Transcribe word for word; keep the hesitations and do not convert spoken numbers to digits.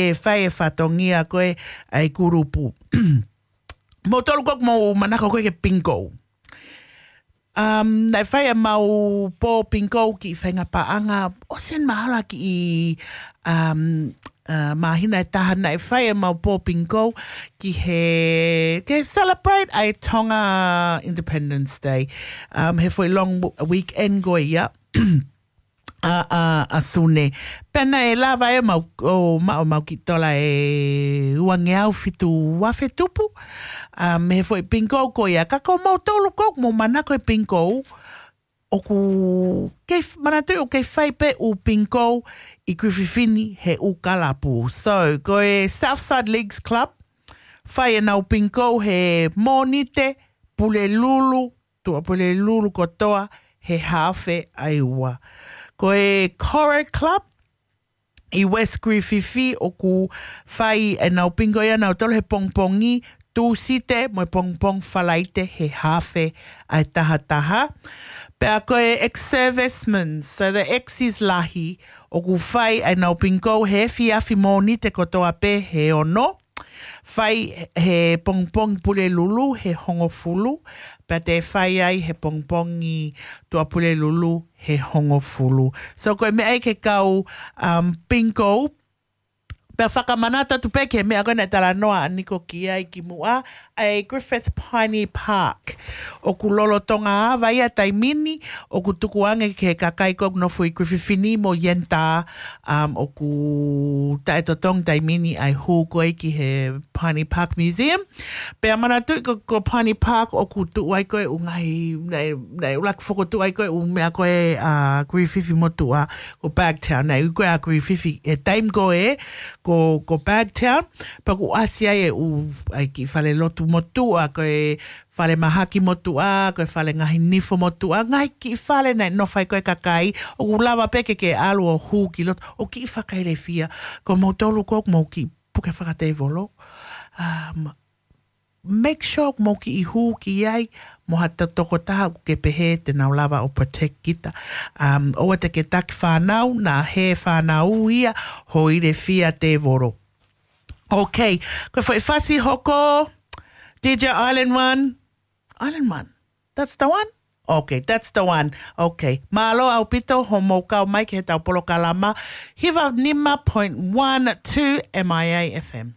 ʻe fai e fatongia ko ē ʻa e kulupu. Moutolu ʻoku mou manako ko ē ki he bingo. Um, naʻe fai ʻemau pō bingo ki he faʻahinga paʻanga, ʻosi eni mahalo kiʻi, um, uh, māhina ʻe taha naʻe fai ʻemau pō bingo ki he, ke celebrate ʻa e Tonga Independence Day. Um, he foʻi long w-, weekend ko ia. ʻA, ʻa, ʻa Sune. Pea naʻe lava ʻemau, ʻo ma-, ʻemau kiʻi tola ʻe uangeau fitu afe tupu. ʻA, mei he foʻi bingo ko ia. Ka ko moutolu ʻoku mou manako he bingo, ʻoku kei f-, manatuʻi ʻoku kei fai pē ʻū bingo ʻi Griffith ni he ʻū kalapu. So, ko e Southside Leagues Club, fai ʻenau bingo he Mōnite, Pulelulu, Tuʻapulelulu kotoa he haafe ʻa e ua. Ko e Coral Club ʻi West Griffith ʻoku fai ʻenau bingo ia nautolu he pongipongi Tūsite mo e pongipongi Falaite he haafe ʻa e taha taha. Pea ko e ex-servicemen, so the exes lahi, ʻoku fai ʻenau bingo he efiafi Mōnite kotoa pē he ono. Fai he pongipongi Pulelulu he hongofulu, pea te fai ai he pongipongi Tuʻapulelulu he hongofulu. So ko e meʻa ia ke kau, um, bingo, pea fakamanatu atu pē ki he meʻa ko ē naʻe talanoa ʻa Niko ki ai kimuʻa, ʻa e Griffith Piney Park. ʻOku lolotonga ava ia taimi ni, ʻoku tukuange ki he kakai ko ē ʻoku nofo ʻi Griffith ni mo Yenta, um, ʻoku taʻetotongi taimi ni ʻa e hū ko ē ki he Piney Park Museum. Pea manatuʻi ko, ko Piney Park ʻoku tuʻu ai ko ē ʻū ngaahi, naʻe, naʻe ʻuluaki fokotuʻu ai ko ē ʻū meʻa ko ē ʻa Griffith motuʻa, ko Bagtown. Naʻe ui ko ē ʻa Griffith he taimi ko ē, ko, ko Bagtown. Pea ʻoku ʻasi ai e ʻū, ʻa e kiʻi fale lotu motuʻa, ko e fale mahaki motuʻa, ko e fale ngaahi nifo motuʻa, ngaahi kiʻi fale naʻe nofo ai ko ē kakai, ʻoku lava pē ke ke ʻalu ʻo hū ki loto, ʻo kiʻi fakailefia, ko moutolu ko ē ʻoku mou kiʻi puke fakatēvolo. Um, make sure ʻoku mou kiʻi hū ki ai, mo ha to-, tokotaha ʻoku ke pehē te nau lava ʻo protect kita. Um, ʻoua te ke taki fānau, naʻa he fānau ia, hoʻo ilefia tēvolo. Okay, ko e foʻi fasi hoko, D J Island One. Island One. That's the one? Okay, that's the one. Okay. Mālō ʻaupito hoʻomou kau mai ki heʻetau polokalama hiva nima point one two M I A F M.